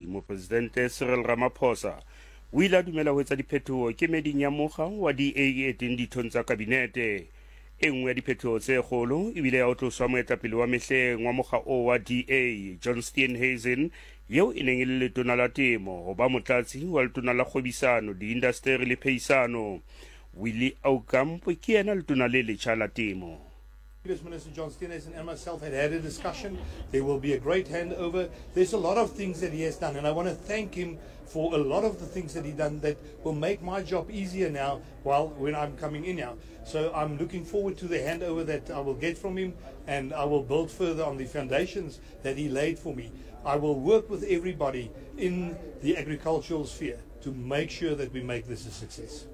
Mopresidente Cyril Ramaphosa o ile a dumela ho etsa diphetoho kemeding ya mokga wa DA e teng dithong tsa kabinete. E nngwe ya diphetoho tse kgolo e bile ya ho tloswa moetapele wa mehleng wa mokga oo wa DA, John Steenhuisen, yeo e neng e le letona la temo, ho ba motlatsi wa letona la kgwebisano, diindasteri le phehisano. Willie Aucamp ke yena letona le letjha la temo. Previous Minister John Steenhuisen and myself had had a discussion. There will be a great handover. There's a lot of things that he has done, and I want to thank him for a lot of the things that he done that will make my job easier now while when I'm coming in now. So I'm looking forward to the handover that I will get from him, and I will build further on the foundations that he laid for me. I will work with everybody in the agricultural sphere to make sure that we make this a success.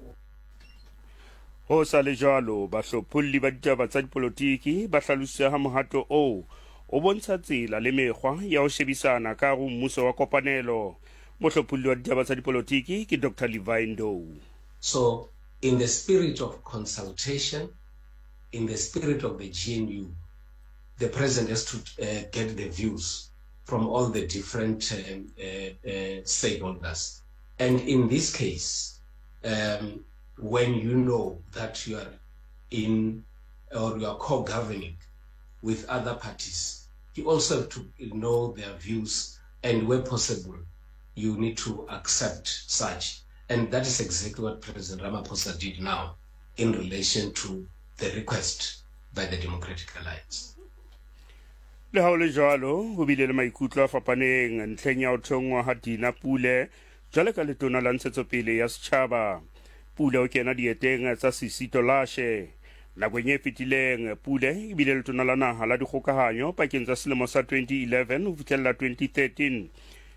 Ho sa le jwalo, bahlopholli ba ditaba tsa dipolotiki ba hlalositse ha mohato oo o bontsha tsela le mekgwa ya ho shebisana ka hare ho mmuso wa kopanelo. Mohlopholli wa ditaba tsa dipolotiki ke Doctor Levi Ndou. So in the spirit of consultation, in the spirit of the GNU, the president has to get the views from all the different stakeholders. And in this case, um, when you know that you are in or you are co-governing with other parties, you also have to know their views and where possible, you need to accept such. And that is exactly what President Ramaphosa did now in relation to the request by the Democratic Alliance. Le ha ho le jwalo, ho bile le maikutlo a fapaneng ntlheng ya ho thonngwa ha Dina Pule jwale ka letona la ntshetsopele ya setjhaba. Pule o kena dieteng tsa Sisi Tolashe. Nakong e fetileng, Pule e bile letona la naha la dikgokahanyo pakeng tsa selemo sa 2011 ho fihlella 2013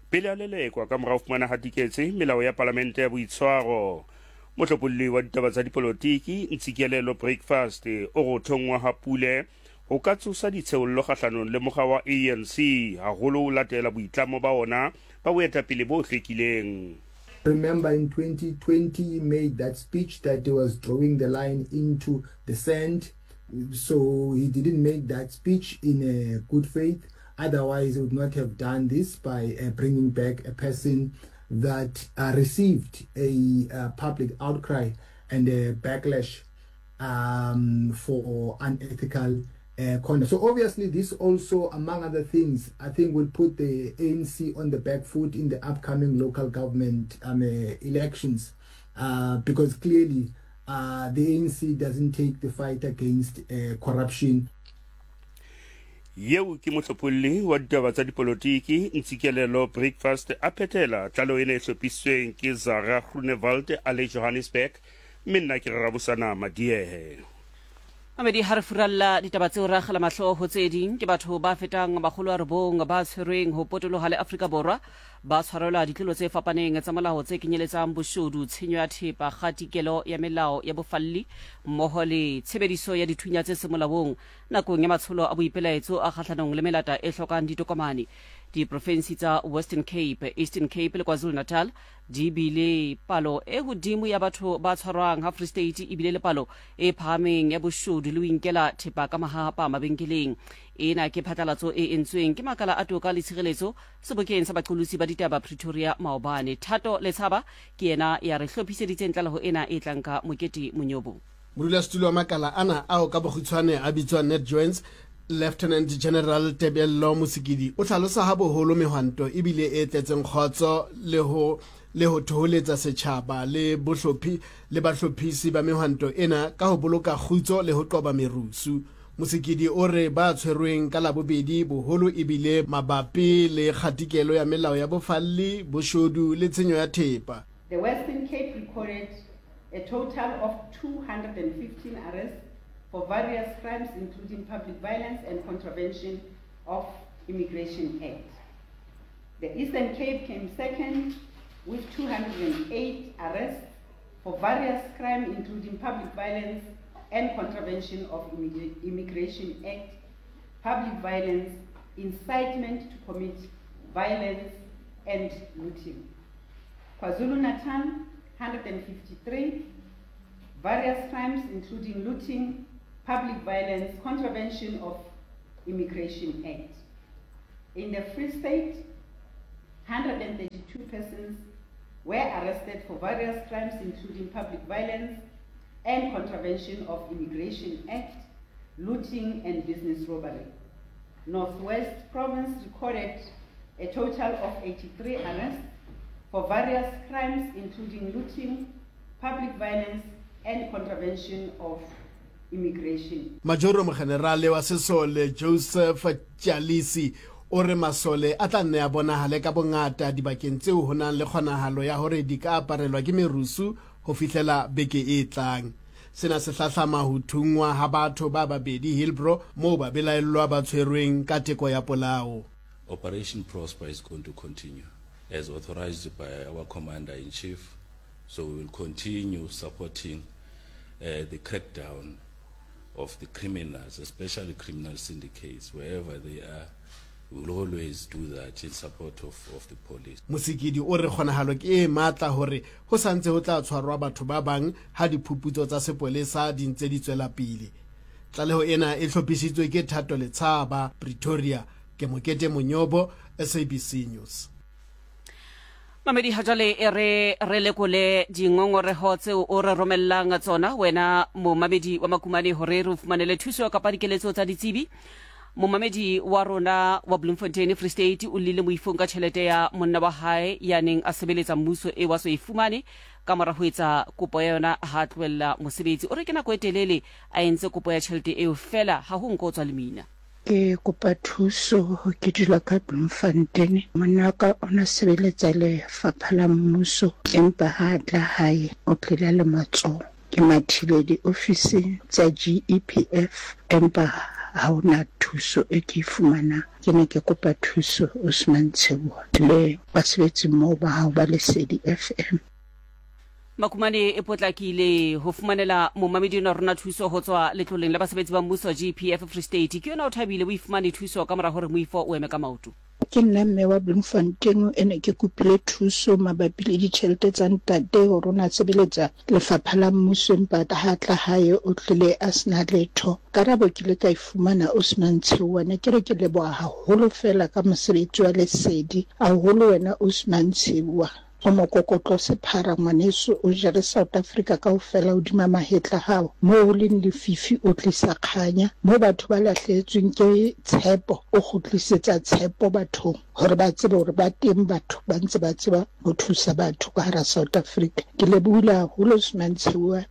pele a lelekwa ka mora ho fumana hatiketse melao ya palamente ya boitshwaro. Mohlopholli wa ditaba tsa dipolotiki Ntsikelelo Breakfast o re ho thonngwa ha Pule ho ka tsosa ditsheollo kgahlanong le mokga wa ANC, haholo ho latela boitlamo ba ona ba boetapele bo hlwekileng. Remember in 2020 he made that speech that he was drawing the line into the sand. So he didn't make that speech in a good faith. Otherwise, he would not have done this by uh, bringing back a person that uh, received a uh, public outcry and a backlash um, for unethical uh, conduct. So obviously this also, among other things, I think will put the ANC on the back foot in the upcoming local government um, uh, elections uh, because clearly uh, the ANC doesn't take the fight against uh, corruption. Yeo ke mohlopholli wa ditaba tsa dipolotiki Ntsikelelo Breakfast a phethela tlaleho ena e hlophisitsweng ke Zara Groenewald a le Johannesburg mme nna ke Rarabosana Madiehe. Mamedi ha re furalla ditaba tseo re akgela mahlo ho tse ding ke batho ba fetang makgolo a robong ba tshwerweng ho potoloha le Afrika Borwa ba tshwarelwa ditlolo tse fapaneng tsa molao tse kenyeletsang boshodu, tshenyo ya thepa, kgatikelo ya melao ya bofalli mmoho le tshebediso ya dithunya tse seng molaong nakong ya matsholo a boipelaetso a kgahlanong le melata e hlokang ditokomane. Diprofensi tsa Western Cape, Eastern Cape le KwaZulu-Natal di bile palo e hodimo ya batho ba tshwarwang ha Free State e bile le palo e phahameng ya boshodu le ho inkela thepa ka mahahapa mabenkeleng. Ena ke phatlalatso e entsweng ke makala a toka le tshireletso sebokeng sa baqolotsi ba ditaba Pretoria maobane. Thato Letshaba ke yena ya re hlophiseditseng tlaleho ena e tlang ka Mokete Monyobo. Modulasetulo wa makala ana ao ka bokgutshwane a bitswang NatJoints, Lieutenant General Tebello Mosikidi o hlalosa ha boholo mehwanto e bile e tletseng kgotso le ho le ho thoholetsa setjhaba le bohlophi le bahlophisi ba mehwanto ena ka ho boloka kgutso le ho qoba merusu. Mosikidi o re ba tshwerweng ka Labobedi boholo e bile mabapi le kgatikelo ya melao ya bofalli, boshodu le tshenyo ya thepa. The Western Cape recorded a total of 215 arrests for various crimes including public violence and contravention of Immigration Act. The Eastern Cape came second with 208 arrests for various crimes including public violence and contravention of Immigration Act, public violence, incitement to commit violence and looting. KwaZulu-Natal, 153, various crimes including looting, public violence, contravention of Immigration Act. In the Free State, 132 52 persons were arrested for various crimes including public violence and contravention of Immigration Act, looting and business robbery. Northwest Province recorded a total of 83 arrests for various crimes including looting, public violence and contravention of immigration. Majoro Mogenerale wa Sesole Joseph Tjalisi o re masole a tla nne a bonagale ka bongata dibakeng tseo ho nang le kgonagalo ya hore di ka aparelwa ke merusu ho fihlela beke e tlang. Sena se hlahlama ho thunngwa ha batho ba babedi Hillbrow moo babelaellwa ba tshwerweng ka teko ya polao. Operation Prosper is going to continue as authorized by our Commander-in-Chief, so we will continue supporting uh, the crackdown of the criminals, especially criminal syndicates, wherever they are. We will always do that in support of, of the police. Mosikidi o re kgonagalo ke e matla hore ho sa ntse ho tla tshwarwa batho ba bang ha diphuputso tsa sepolesa di ntse di tswela pele. Tlaleho ena e hlophisitswe ke Thato Letshaba, Pretoria. Ke Mokete Monyobo, SABC News. Mamedi ha jwale e re re lekole dingongoreho tseo o re romellang tsona wena momamedi wa Makumane hore re o fumanele thuso kapa dikeletso tsa ditsebi. Momamedi wa rona wa Bloemfontein Free State o llile moifong ka tjhelete ya monna wa hae ya neng a sebeletsa mmuso e wa so e fumane ka mora ho etsa kopo ya yona ha tlohella mosebetsi. O re ke nako e telele a entse kopo ya tjhelete eo fela ha ho nko o tswa lemina. Ke kopa thuso, ke dula ka Bloemfontein. Monna wa ka o na sebeletsa lefapha la mmuso, empa ha a tla hae o tlile le matsoho. Ke mathile diofising tsa GEPF empa ha ho na thuso e ke e fumanang. Ke ne ke kopa thuso Osman Tsheoa le basebetsi mmoho ba hao ba Lesedi FM. Makumane e potlakile ho fumanela momamedi enwa rona thuso ho tswa letloleng la basebetsi ba mmuso GPF Free State. Ke yona o thabile o ifumane thuso ka mora hore moifo o eme ka maoto. Ke nna mme wa Bloemfontein e ne ke kopile thuso mabapi le ditjhelete tsa ntate hore o ne a sebeletsa lefapha la mmuso empa ha tla hae o tlile a sena letho. Karabo ke ile ka e fumana Osman Tsheoa. Ne ke re ke leboha haholo feela ka mosebetsi wa Lesedi haholo wena Osman Tsheoa. O mokokotlo sephara ngwaneso o jere South Africa kaofela hodima mahetla hao. Moo ho leng lefifi o tlisa kganya, moo batho ba lahlehetsweng ke tshepo o kgutlisetsa tshepo bathong hore ba tsebe hore ba teng batho ba ntse ba tseba ho thusa batho ka hara South Africa. Ke lebohile haholo Osman Tsheoa.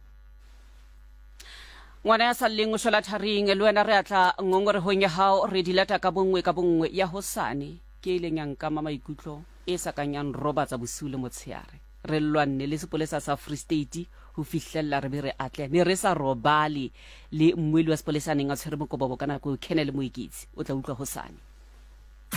Ngwana ya sa lleng o shwela tharing, le wena re a tla ngongorehong ya hao re di lata ka bonngwe ka bonngwe. Ya hosane ke e ileng ya nkama maikutlo e sa kang ya nrobatsa bosiu le motsheare. Re lwanne le sepolesa sa Free State ho fihlella re be re atleha. Ne re sa robale le mmueli wa sepolesa a neng a tshwere mokobobo ka nako eo, Colonel Moeketsi. O tla utlwa hosane.